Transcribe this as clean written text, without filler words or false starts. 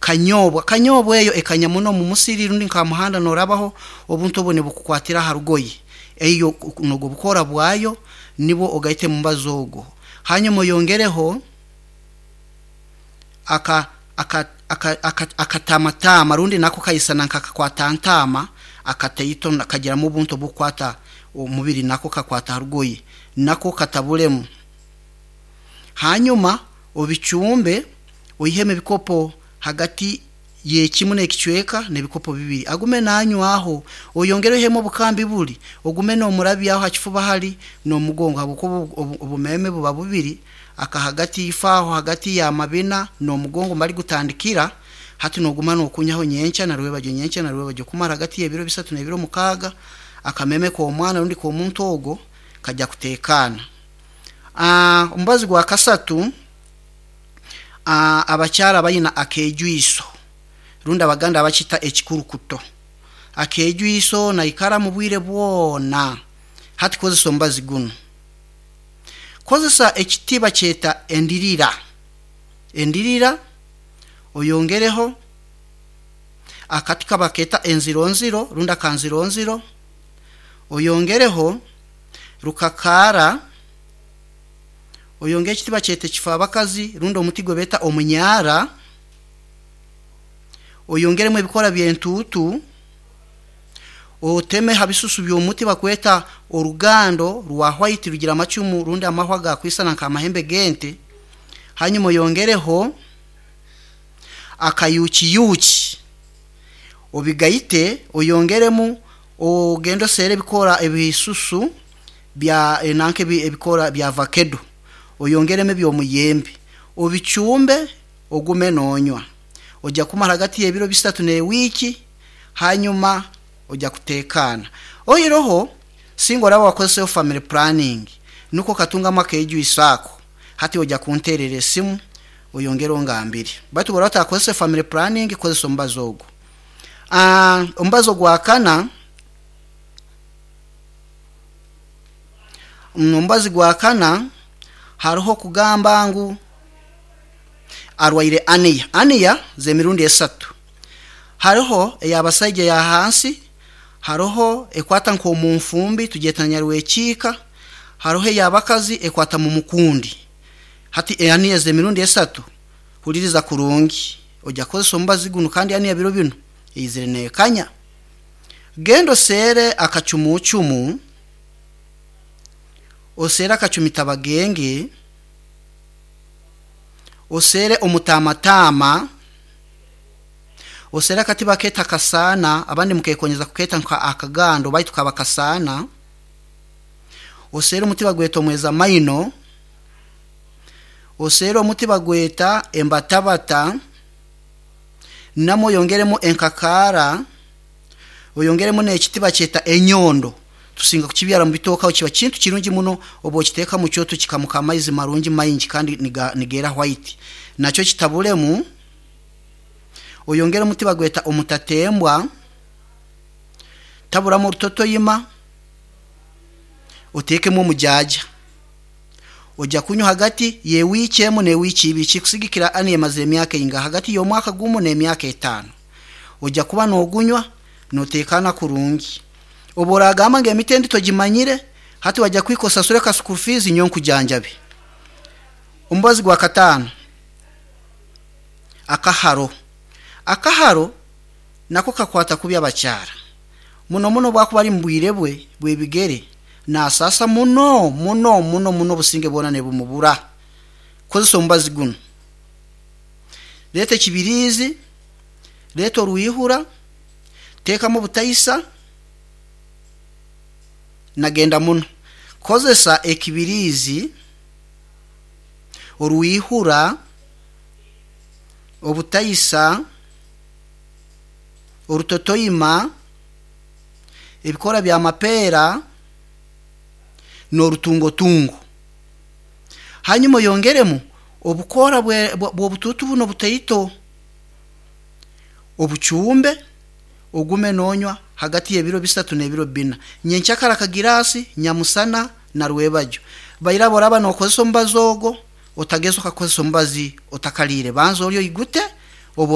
Kanyobwa, kanyobwa eyo ekanya muno mu musiri rundi nka muhanda norabaho, obuntu obu nibukukwatira ha rugoye. Eyo nubwo bukora bwayo, nibwo ogaite mu mubazi ogwo. Hanyuma oyongereho akatamatama rundi nako kaisana nk'akakwatantama akataito, kagiramu obuntu obukukwata omubiri, nako kakwata ha rugoye, nako katabulemu. Hanyuma obicumbe, oihemu ebikopo hagati y'ekimu n'ekicweka n'ebikopo bibiri, agume nanywaho. Oyongere oihemu obukambi buli, ogume nomurabyaho ha kifuba hali n'omugongo, habwokuba obumeeme buba bubiri, aka hagati ifaaho hagati y'amabina n'omugongo mbali gutandikira. Hati noguma nokunyaho nyenkya na rwebagyo, nyenkya na rwebagyo, kumara hagati y'ebiro 3 n'ebiro 6, akameme k'omwana rundi k'omuntu ogwo kajya kuteekaana. Omubazi gwa kasatu, abakyara abaina akeejwiso rundi Abaganda bakita ekikurukuto, akeejwiso naikara mu bwire bwona, hati kozesa omubazi gunu. Kozesa ekiti bakyeta endirira, endirira oyongereho akati kabakeeta enzironziro rundi akanzironziro, oyongereho rukakaara, oyongereho ekiti bakyeta ekifaabakazi rundi omuti ogu beeta omunyara, oyongeremu ebikoora by'entuutu, oteme ha bisusu by'omuti bakweta orugando rwa white, rugira amacumu rundi amahwa agakwisana nk'amahembe g'ente, hanyuma oyongereho akayuukiyuuki, obigaite, oyongeremu, ogende oseere ebikoora, ebisusu bya nanka ebikoora bya vakedo, oyongeremu eby'omuyembe, obicumbe, ogume noonywa. Ojya kumara hagati y'ebiro 3 n'ewiiki, hanyuma ojya kuteekaana. Oihireho singa oraaba wakozeseho family planning, nukwo okatungamu akeejwiso ako, hati ojya kunteerera esimu oyongere ongambire. Baitu obu oraaba otakozese family planning, kozesa omubazi ogu. Omubazi ogwakana, omubazi gwakana haroho kugamba ngu arwaire aniya, aniya z'emirundi esatu. Haroho ey'abasaija eya hansi, haroho ekwata nk'omu nfumbi tugyeta nyarwekiika, haroho ey'abakazi ekwata mu mukundi. Hati aniya ez'emirundi esatu, huliriza kurungi, ojya kukozesa omubazi gunu kandi aniya biro binu eizire neekanya. Genda oseere akacumuucumu, oseere akacumitabagenge, oseere omutaamataama, oseere akati bakeeta kasaana, abandi mukeekonyeza kukeeta nka akagando baitu kaba kasaana, oseere omuti bagweta omwezamaino, oseere omuti bagweta embatabata, namwo oyongeremu enkakaara, oyongeremu n'ekiti bakyeta enyondo, tusinga kukibyara mu bitooke aho, kiba kintu kirungi muno obu okiteeka mu kyoto kikamuka amaizi marungi maingi kandi nigeera white, nakyo kitabulemu, oyongere omuti bagweta omutatembwa, taburamu orutotoima, oteekemu omujaaja. Ojya kunywa hagati y'ewiiki emu n'ewiiki ibiri, kikusigikira aniya emazire emyaka eingaha, hagati y'omwaka gumu n'emyaka 5. Ojya kuba noogunywa nooteekaana kurungi. Obu oraagamba ngu emiti endi togimanyire, hati wajya kuhika osasule ka school fees nyowe nkujanjabe. Omubazi gwa kataano, akaharo. Akaharo nako kakwata kubi abakyara, muno muno obu akuba ari mu bwire bwe bw'ebigere, naasaasa muno muno muno muno, obusinge bwona nibumubura. Kozesa omubazi gunu. Leeta ekibiriizi, leeta orwihura, teekamu obutaisa, nagenda muno. Kozesa ekibiriizi, orwihura, obutaisa, orutotoima, ebikoora by'amapeera, n'orutungotungo. Hanyuma oyongeremu obukoora bw'obutuutu bunu obutaito, obucumbe, ogume noonywa hagati y'ebiro 3 n'ebiro 4. Nyenkyakara akagiraasi, nyamusana na rwebagyo. Bairaba oraaba nookozesa omubazi ogwo, otageza okakozesa omubazi otakaliire, banza olye oigute.